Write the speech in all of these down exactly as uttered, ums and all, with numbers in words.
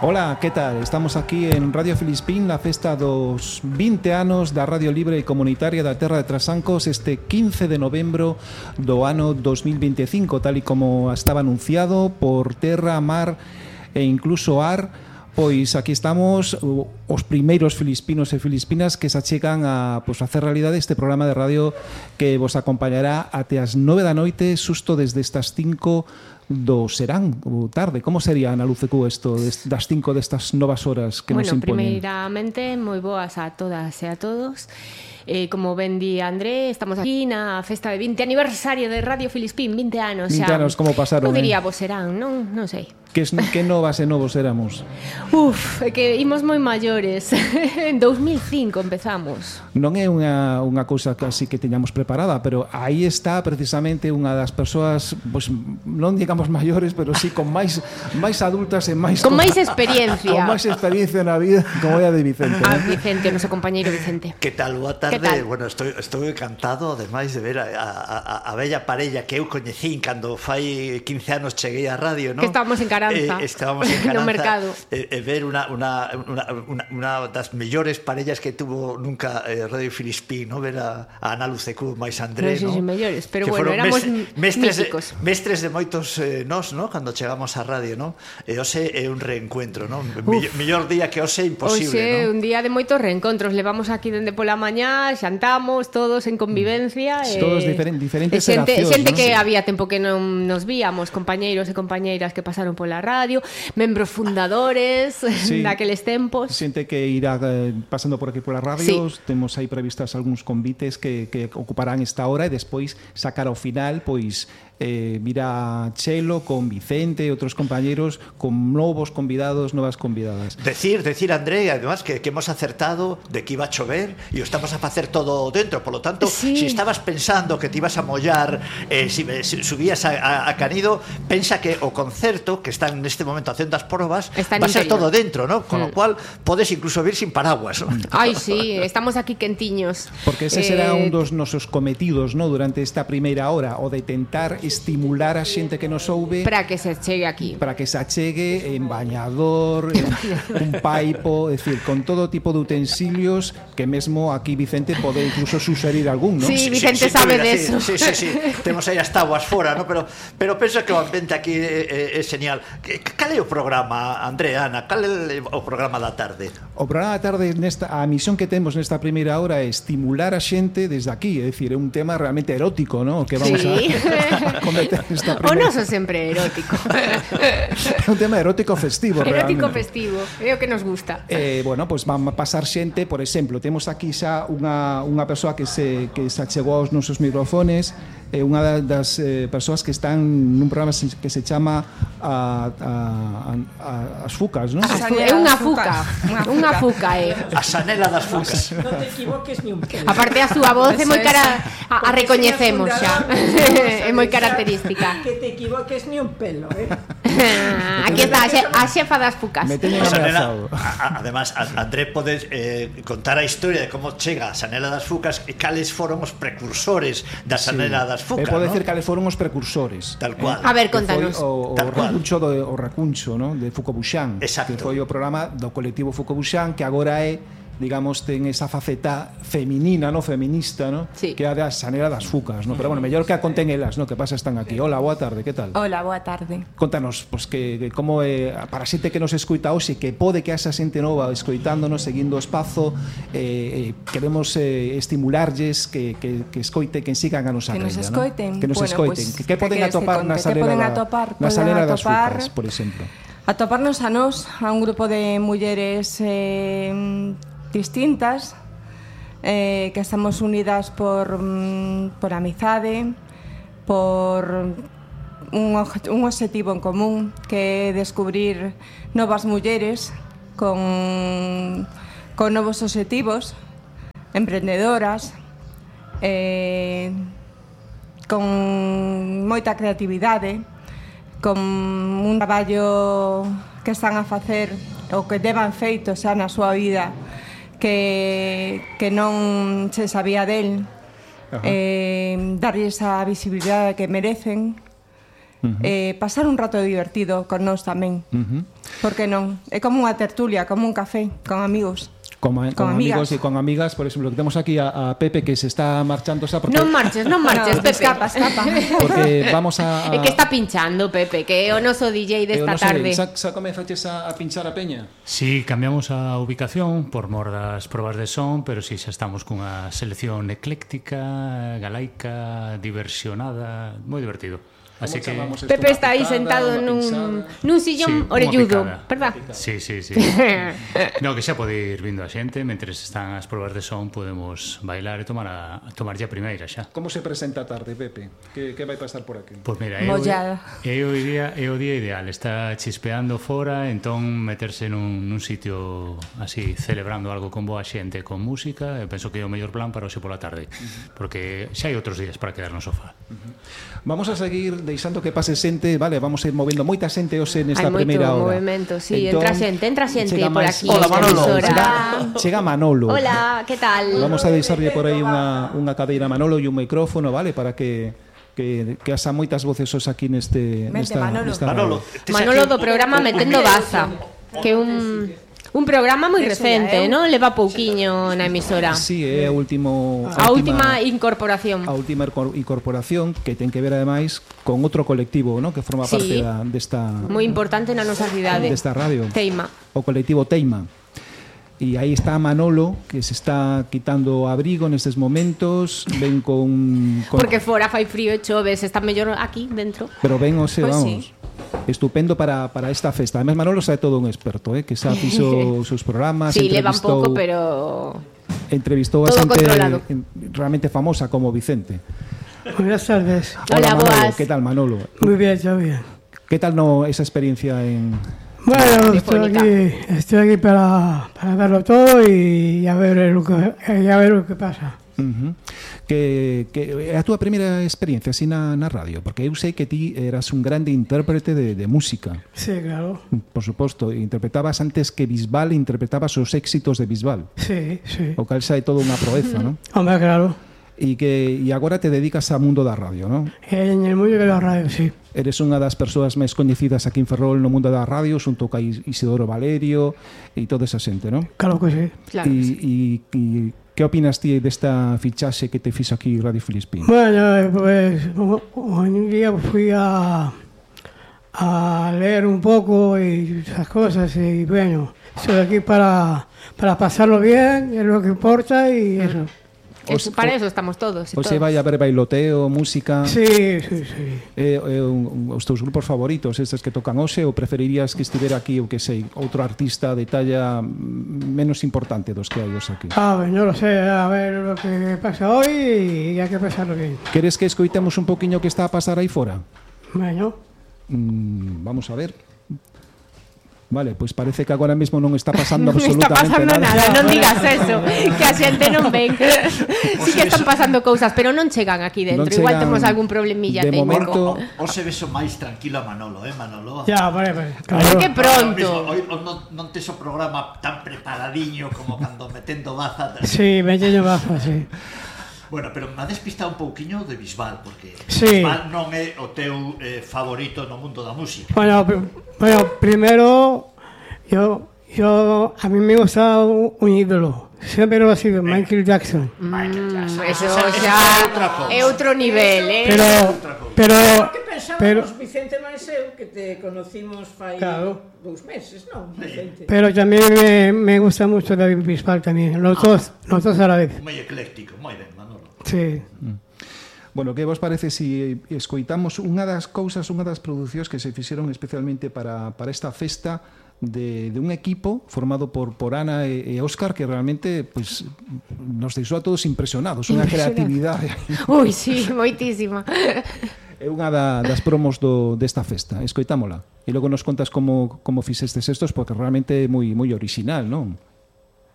Ola, que tal? Estamos aquí en Radio Filispín, na festa dos vinte anos da Radio Libre e Comunitaria da Terra de Trasancos, este quince de novembro do ano dos mil veinticinco, tal e como estaba anunciado por terra, mar e incluso ar. Pois aquí estamos os primeiros filispinos e filispinas que se achegan a pois, facer realidade este programa de radio que vos acompañará até as nove da noite, susto desde estas cinco do serán, ou tarde. Como sería, Ana Lucecú, isto das cinco destas novas horas que bueno, nos imponen? Bueno, primeiramente, moi boas a todas e a todos. Eh, como ben di André, estamos aquí na festa de vinte aniversario de Radio Filispín, vinte anos. vinte anos, como pasaron? Non diría eh? vos serán, non, non sei. Que, que novas e novos éramos? Uf, é que imos moi maiores. En dos mil cinco empezamos. Non é unha, unha cousa que así que teñamos preparada, pero aí está precisamente unha das persoas, pois, non digamos maiores, pero sí con máis máis adultas e máis con máis experiencia. Con máis experiencia na vida, como é a de Vicente. Ah, Vicente, o noso compañeiro Vicente. Que tal? Boa tarde. Bueno, estou, estou encantado, ademais de ver a, a, a bella parella que eu coñecín cando fai quince anos cheguei á radio, non? Que estábamos en Caranza, eh, estábamos en Caranza no mercado. E eh, eh, ver unha, unha, unha, unha, unha das mellores parellas que tuvo nunca eh, Radio Filispín, ¿no? Ver a, a Ana Lucecú máis André, non? Non sei se mellores, pero que bueno, éramos mestres, míticos. Mestres de moitos eh, nós, ¿no? Cando chegamos á radio, ¿no? E hoxe é un reencuentro, ¿no? Mellor, mellor día que hoxe imposible, hoxe, ¿no? Un día de moitos reencontros. Levamos aquí dende pola mañá, xantamos todos en convivencia. Sí. Eh, todos diferen, diferentes xente, xeracións, xente ¿no? que Sí. había tempo que non nos víamos, compañeiros e compañeiras que pasaron pola radio, membros fundadores sí. daqueles tempos. Xente que irá eh, pasando por aquí polas radios, sí. Temos aí previstas algúns convites que, que ocuparán esta hora e despois sacar ao final, pois eh, mira Chelo con Vicente e outros compañeiros con novos convidados, novas convidadas. Decir, decir André, además que, que hemos acertado de que iba a chover e o estamos a facer todo dentro, por lo tanto, sí. si estabas pensando que te ibas a mollar eh, si, si subías a, a, a Canido, pensa que o concerto que están neste momento facendo as probas va a ser todo dentro, ¿no? Con mm. lo cual podes incluso vir sin paraguas, ¿no? Ai, sí, estamos aquí quentiños. Porque ese eh... será un dos nosos cometidos, ¿no? Durante esta primeira hora, o de tentar estimular a xente que nos ouve para que se chegue aquí, para que se achegue en bañador, en un paipo, é dicir, con todo tipo de utensilios que mesmo aquí Vicente pode incluso suxerir algún, ¿no? Sí, Vicente sí, sí, sabe de eso. Sí, sí, sí, temos aí as tabuas fora, ¿no? Pero pero penso que o ambiente aquí é, é, é genial. Cal é o programa, André, Ana? Cal é o programa da tarde? O programa da tarde nesta a misión que temos nesta primeira hora é estimular a xente desde aquí, é dicir, é un tema realmente erótico, ¿no? Que vamos sí. a cometer. O noso sempre erótico. É un tema erótico festivo, erótico realmente. festivo, é o que nos gusta. Eh, bueno, pois pues van a pasar xente, por exemplo, temos aquí xa unha, unha persoa que se, que se achegou aos nosos microfones, é eh, unha das eh, persoas que están nun programa que se chama a, a, a, As Fucas, non? É unha fuca, unha fuca, é. A Sanela das Fucas. Non te equivoques ni un pelo. Aparte a súa voz é moi cara, a, a recoñecemos xa. É moi característica. Que te equivoques ni un pelo, eh? Aquí está a xefa das fucas. Me teñen ameazado. Además, André podes eh, contar a historia de como chega a Sanela das Fucas e cales foron os precursores da Sanela sí. das Fucas, e pode ¿no? decir cales foron os precursores. Tal cual. Eh? A ver, contanos. O, o, Tal o racuncho do o racuncho, ¿no? De Fucobuxán. Exacto. Que foi o programa do colectivo Fucobuxán que agora é, digamos, ten esa faceta feminina, no feminista, no? Sí. Que é a da Sanela das Fucas, no? Pero bueno, mellor que a conten elas, no? Que pasa están aquí. Hola, boa tarde, que tal? Hola, boa tarde. Contanos, pues que, que como é eh, para a xente que nos escoita hoxe, que pode que esa xente nova escoitándonos, seguindo o espazo, eh, eh, queremos eh, estimularlles que, que, que escoite, que sigan a nosa que rella, nos escoiten, ¿no? Que nos bueno, escoiten. Pues, que, que poden atopar na Sanela, poden atopar, na Sanela das atopar, Fucas, por exemplo? Atoparnos a nós, a un grupo de mulleres eh, distintas, eh, que estamos unidas por, por amizade, por un, un objetivo en común, que é descubrir novas mulleres con, con novos objetivos, emprendedoras, eh, con moita creatividade, con un traballo que están a facer ou que deban feito xa na súa vida que, que non se sabía del, eh, darlle esa visibilidade que merecen, uh -huh. eh, pasar un rato divertido con nós tamén. Uh -huh. Por que non? É como unha tertulia, como un café, con amigos. Con, con, con amigos y con amigas, por ejemplo, que tenemos aquí a, a Pepe que se está marchando. Porque... No marches, no marches, no, Pepe. Escapa, escapa. Porque vamos a... É que está pinchando, Pepe, que é o noso D J desta tarde. Xa, xa comezaches a, a pinchar a peña? Sí, cambiamos a ubicación por mor das probas de son, pero si sí, xa estamos cunha selección ecléctica, galaica, diversionada, moi divertido. Así que Pepe está aí sentado nun, nun sillón sí, orelludo, verdad? Sí, sí, sí. No, que xa pode ir vindo a xente, mentres están as probas de son podemos bailar e tomar a, tomar ya a primeira xa. Como se presenta a tarde, Pepe? Que, que vai pasar por aquí? Pois mira, é o, é, o día, é o día ideal, está chispeando fora, entón meterse nun, nun sitio así, celebrando algo con boa xente, con música, eu penso que é o mellor plan para hoxe pola tarde, uh-huh. porque xa hai outros días para quedar no sofá. Uh-huh. Vamos a seguir deixando que pase xente, vale, vamos a ir movendo moita xente hoxe nesta primeira hora. Hai moito movimento, sí, entón, entra xente, entra xente por aquí. Hola, Manolo. Chega, chega Manolo. Hola, que tal? Vamos a deixarlle por aí unha, unha cadeira a Manolo e un micrófono, vale, para que que, que asa moitas voces os aquí neste... Mente, nesta, Manolo. nesta Manolo, Manolo do programa Metendo Baza, que un... Un programa moi recente, non? Leva pouquiño na emisora. Sí, é a último a última incorporación. A última incorporación que ten que ver ademais con outro colectivo, non? Que forma parte sí, da desta moi importante na nosa cidade. Desta radio. Teima. O colectivo Teima. E aí está Manolo, que se está quitando abrigo nestes momentos, ven con, con... Porque fora fai frío e chove, se está mellor aquí dentro. Pero ven, o se, pues vamos... Sí. Estupendo para, para esta festa. Además, Manolo sabe todo un experto, ¿eh? Que xa fixo os seus programas. Sí, leva un pouco, pero... Entrevistou a xente realmente famosa como Vicente. Buenas tardes. Hola, Hola Manolo. boas. ¿Qué tal, Manolo? Muy bien, todo bien. ¿Qué tal no esa experiencia en...? Bueno, estoy aquí, estoy aquí para, para verlo todo y a ver lo que, y a ver lo que pasa. Uh-huh. Que, que a túa primeira experiencia así na, na radio, porque eu sei que ti eras un grande intérprete de, de música. Sí, claro. Por suposto, interpretabas antes que Bisbal, interpretabas os éxitos de Bisbal. Sí, sí. O cal xa é todo unha proeza, non? Hombre, claro. E que e agora te dedicas ao mundo da radio, non? En el mundo de la radio, sí. Eres unha das persoas máis coñecidas aquí en Ferrol no mundo da radio, xunto ca Isidoro Valerio e toda esa xente, non? Claro que sí. Claro e, que sí. E, e que opinas ti desta fichaxe que te fixo aquí Radio Filispín? Bueno, pues un día fui a, a leer un poco y esas cosas y bueno, estoy aquí para, para pasarlo bien, es lo que importa y eso. Es, para eso estamos todos. O se vai a ver bailoteo, música... Sí, sí, sí. Eh, eh, un, os teus grupos favoritos, estes que tocan hoxe, ou preferirías que estivera aquí, o que sei, outro artista de talla menos importante dos que hai os aquí? Ah, bueno, no lo sé, a ver lo que pasa hoy y hay que pasarlo bien. Queres que escoitemos un poquinho que está a pasar aí fora? Bueno. Mm, vamos a ver... Vale, pois pues parece que agora mesmo non está pasando non absolutamente está pasando nada. nada. Non digas eso, que a xente non ven. Sí que están pasando cousas, pero non chegan aquí dentro. Non Igual temos algún problemilla de técnico. momento. O se beso máis tranquilo a Manolo, eh, Manolo? Ya, vale, vale. Claro. Que pronto. Hoy non, non tes o programa tan preparadiño como cando metendo baza. Sí, metendo baza, sí. Bueno, pero me ha despistado un pouquiño de Bisbal, porque sí. Bisbal non é o teu eh, favorito no mundo da música. Bueno, bueno, primero, yo, yo, a mí me gusta un, un ídolo. Siempre lo ha sido, eh. Michael Jackson. Michael Jackson. Mm, eso xa é outro nivel, eh? Pero, pero, porque pensábamos, pero, Vicente Maeseu, que te conocimos fai claro. dous meses, non, Vicente? Pero también me, me gusta mucho David Bisbal también, los ah. dos, los dos a la vez. Moi ecléctico, moi ben, Manolo. Sí. Mm. Bueno, que vos parece si escoitamos unha das cousas, unha das producións que se fixeron especialmente para, para esta festa de, de un equipo formado por, por Ana e, e Óscar, que realmente pues, nos deixou a todos impresionados, unha creatividade. Ui, sí, moitísima. É unha da, das promos do, desta festa, escoitámola. E logo nos contas como, como fixestes estos, porque realmente é moi, moi original, non?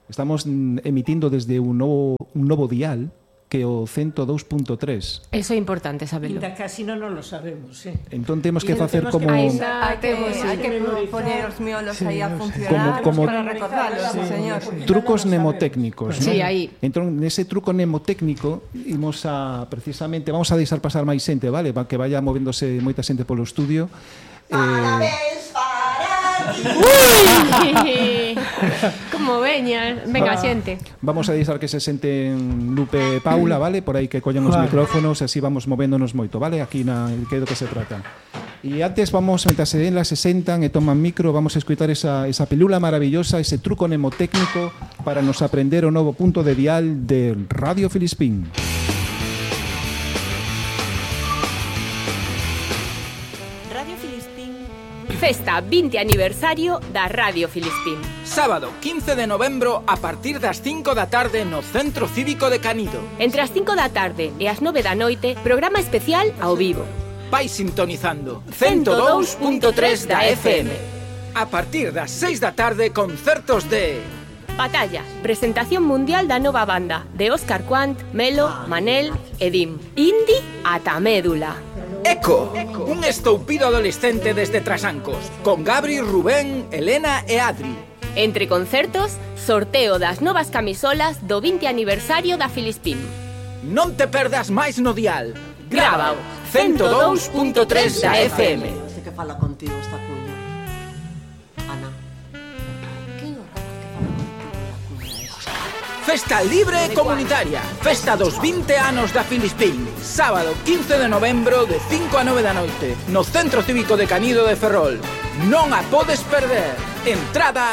Estamos emitindo desde un novo, un novo dial, que o ciento dos punto tres. Eso é importante saberlo. Ainda casi non nos lo sabemos, sí. Entón temos que Y facer temos como... que- Ainda hai que, Sí. hai que Memorizar. poner os miolos Sí, aí a sí. funcionar Como- como- para recordarlos, sí, señor. Trucos mnemotécnicos, Sí, ¿no? aí. Entón, nese truco mnemotécnico imos a, precisamente, vamos a deixar pasar máis xente, vale? Pa que vaya movéndose moita xente polo estudio. Eh, Ui! Como veña, venga, xente. vamos a deixar que se senten Lupe e Paula, vale? Por aí que collan os Vale. micrófonos e así vamos movéndonos moito, vale? Aquí na que é do que se trata. E antes vamos, mentras se las se sentan e toman micro, vamos a escutar esa, esa pelula maravillosa, ese truco mnemotécnico para nos aprender o novo punto de dial de Radio Filispín. Radio Filispín. Festa vinte aniversario da Radio Filispín. Sábado quince de novembro a partir das cinco da tarde no Centro Cívico de Canido. Entre as cinco da tarde e as nove da noite, programa especial ao vivo. Vai sintonizando ciento dous punto tres da F M. A partir das seis da tarde, concertos de... Batalla, presentación mundial da nova banda de Óscar Quant, Melo, Manel e Dim. Indi ata médula. Eco, un estoupido adolescente desde Trasancos, con Gabri, Rubén, Elena e Adri. Entre concertos, sorteo das novas camisolas do vinte aniversario da Filispín. Non te perdas máis no dial. Grábao, ciento dous punto tres da F M. Este que fala contigo esta cuña. Ana. Que horror que fala contigo la cuña esa. Festa libre e comunitaria. Festa dos vinte anos da Filispín. Sábado quince de novembro de cinco a nove da noite no Centro Cívico de Canido de Ferrol. Non a podes perder. Entrada